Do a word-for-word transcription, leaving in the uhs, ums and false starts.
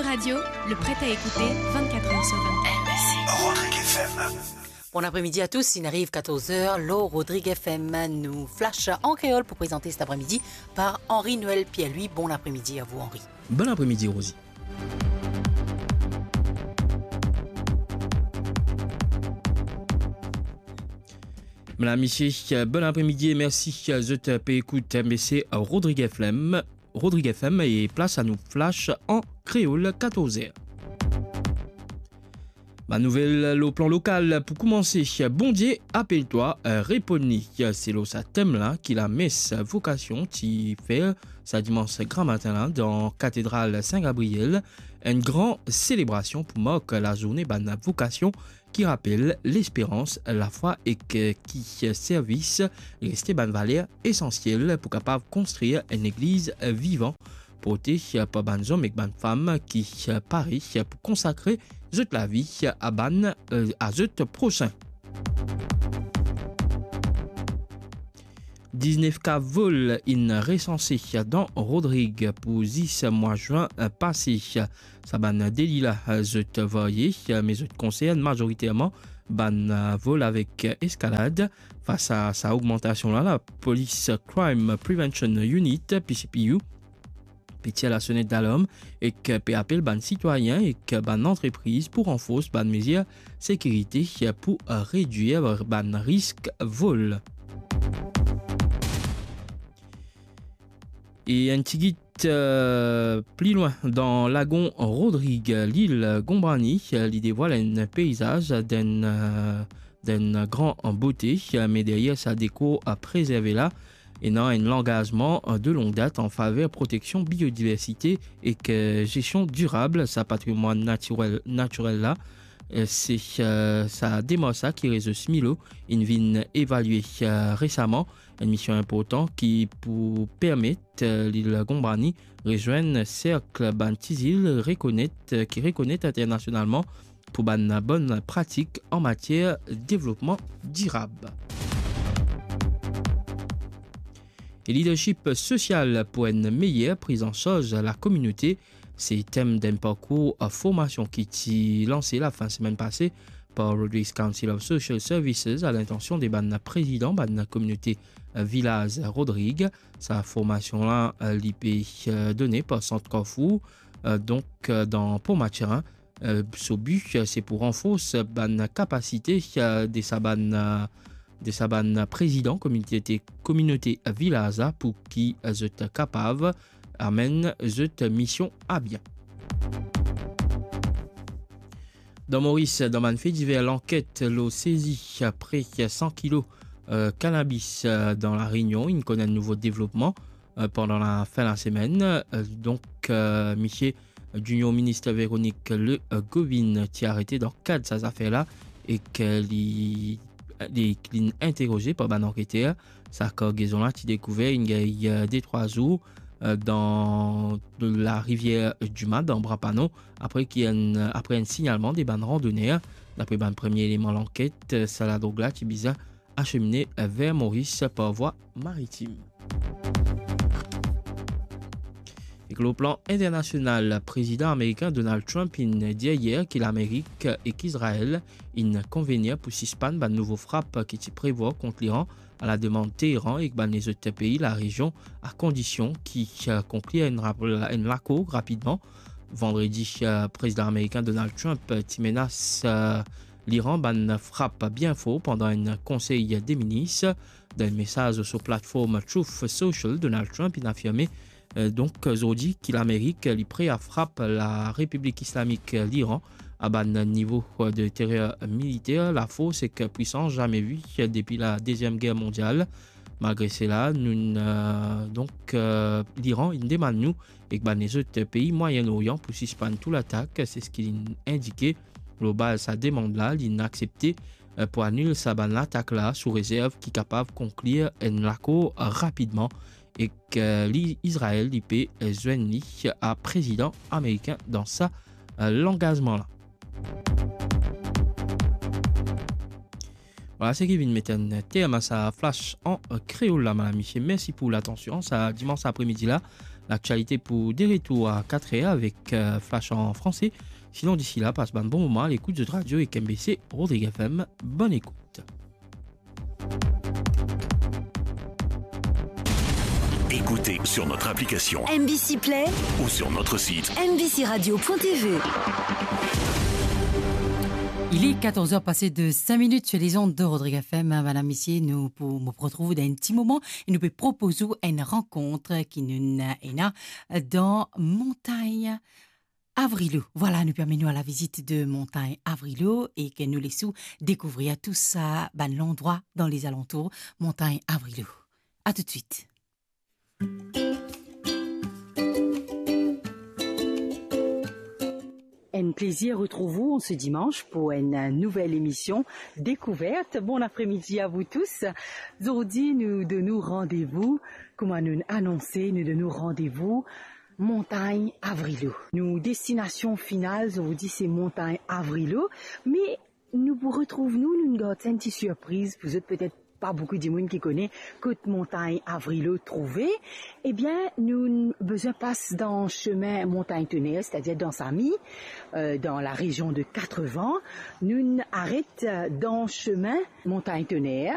Radio, le prêt à écouter vingt-quatre heures sur vingt-quatre. Rodrigue F M. Bon apremidi a tous, inn ariv katorz er lor Rodrigue F M. Nou flash an kreol pou prezante cet après-midi par Henri Noël Pierre-Louis. Bon apremidi a vou, Henri. Bon apremidi, Rosie. Medam, misie, bon apremidi e mersi zot pe ekout M B C Rodrigue F M. Rodrigue F M e plas a nou flash an kreol, katorz er. Bann nouvel lor plan lokal pou koumanse, Bondie apel twa, reponn li. Se lor sa tem la ki lames vokasion ti fer sa dimans gramatin la dan katedral Sin Gabriel, enn gran selebrasion pou mark lazourne bann vokasion ki rapel lesperans, lafwa ek ki servis reste bann valer esansiel pou kapav konstrir enn legliz vivan, porte par bann zom ek bann fam ki pare pou konsakre zot lavi a bann, a zot prosin. Diznef ka vol inn resanse dan Rodrig pou zis mwa zin pase. Sa bann deli la, zot varye, me zot konsern mazoriterman bann vol avek eskalad. Fas a sa ogmantasion la, la Police Crime Prevention Unit, P C P U, pe tir lasonet dalarm ek pe apel bann sitwayin ek bann antrepriz pou ranfors bann mezir sekirite pou redwir bann risk vol. E enn tigit, eh, pli lwin, dan lagon Rodrig, lil Gonbrani, eh, li devwal enn peizaz d'enn, eh, d'enn gran bote, eh, me deryer sa dekor, eh, prezerve la, ena enn langazman, eh, de long dat an faver proteksion biodiversite ek, eh, zestion dirab sa patrimwann natirel, natirel la. Eh, se, eh, sa demars la ki rezo Smilo inn vinn evalie, eh, resaman, enn mision inportan ki pou permet, eh, lil Gonbrani rezwenn serk bann ti zil rekonet, eh, ki rekonet internasionalman pou bann bonn pratik an matier devlopman dirab. E lidership sosial pou enn meyer priz an sarz lakominote, se tem d'enn parkour formasion ki ti lanse lafin semenn pase par Rodrigues Council of Social Services a lintansion de bann prezidan bann kominote, eh, vilaz Rodrig. Sa formasion la, eh, li pe, eh, done par Sant Carrefour, eh, donk, eh, dan Port Mathurin. Eh, so bi, eh, se pou ranfors bann kapasite, eh, de sa bann, eh, de sa bann prezidan kominote, kominote vilaz la pou ki, eh, zot kapav amenn zot mision a bien. Dan Moris, dan bann fe diver, lanket lor sezi pre san kilo, eh, kanabis, eh, dan La Rényon inn konn enn nouvo devlopman, eh, pandan lafin lasemenn. Eh, donk, eh, misie Junior Minister Véronique Le, eh, Govind ti arete dan kad sa zafer la ek li, li, li inn interroze par bann anketer. Sa kargezon la ti dekouver inn gagn, eh, de trwa zour, eh, dan larivier Duma, dan Bras-Panon, apre ki enn, apre enn signalman de bann randoner. Dapre bann premie eleman lanket, eh, sa ladrog la ti bizin asemine, eh, ver Moris par vwa maritim. Ek lor plan internasional, prezidan amerikin Donald Trump inn dir yer ki Lamerik ek Izrael inn konvenir pou sispann bann nouvo frap ki ti prevwar kont Liran, a la demann Teheran ek bann lezot pei larezion, a kondision ki, eh, konklir enn rap-, enn lakor rapidman. Vandredi, eh, prezidan amerikin Donald Trump, eh, ti menas, eh, Liran bann frap bien for pandan enn konsey de minis. Dan enn mesaz lor so platform Truth Social, Donald Trump inn afirme, eh, donk, zordi ki Lamerik, eh, li pre a frap Larepiblik Islamik, eh, Liran a bann nivo, eh, de terer militer, lafors ek pwisans zame vi, eh, depi la Deziem Ger Mondial. Malgre sela, nou, eh, donk, eh, Liran inn demann nou ek bann lezot pei Mwayen Loryan pou sispann tou latak, se seki linn indike. Lor baz sa demann la, linn aksepte, eh, pou anil sa bann latak la sou rezerv ki kapav konklir enn lakor rapidman ek, eh, li, Izrael, li pe, eh, zwenn li a prezidan amerikin dan sa, eh, langazman la. Vwala seki vinn met enn term a sa flash an, eh, kreol la, medam, misie. Mersi pou latansion. Sa dimans apremidi la, Laktialite pou de retour a kat er avek, euh, Flash an franse. Sinon, disi la, pas bann bon moman a lekout zot radio ek M B C Rodrigues F M. Bonn ekout. Écoutez sur notre application M B C Play ou sur notre site M B C radio point T V. Il est quatorze heures passées de cinq minutes sur les ondes de Rodrigues F M. Madame, messieurs, nou pou, nou pou retrouve dans un petit moment et nou pe propoz ou enn rankont ki nou ena dan Montagne Avrilo. Voilà, nou pe amenn ou a la vizit de Montagne Avrilo e ke nou les ou dekouvrir tou sa bann landrwa dan les alentours Montagne Avrilo. À tout de suite. Enn plezir retrouv ou an se dimanz pou enn nouvel emision Découverte. Bon apremidi a vou tous. Zordi nou donn ou randevou, kouma nou anonse, nou donn ou randevou Montagne Avrilo. Nou destinasion final, zordi se Montagne Avrilo, me nou pou retrouv nou, nou gard enn ti sirpriz pou zot, petet pa boukou dimoun ki kone kot Montagne Avrilo trouve. Ebien, nou bezwin pas dan semin Montagne Tonnerre, setadir dan Samy, euh, dan la rezion de Quatre Vents. Nou aret, euh, dan semin Montagne Tonnerre.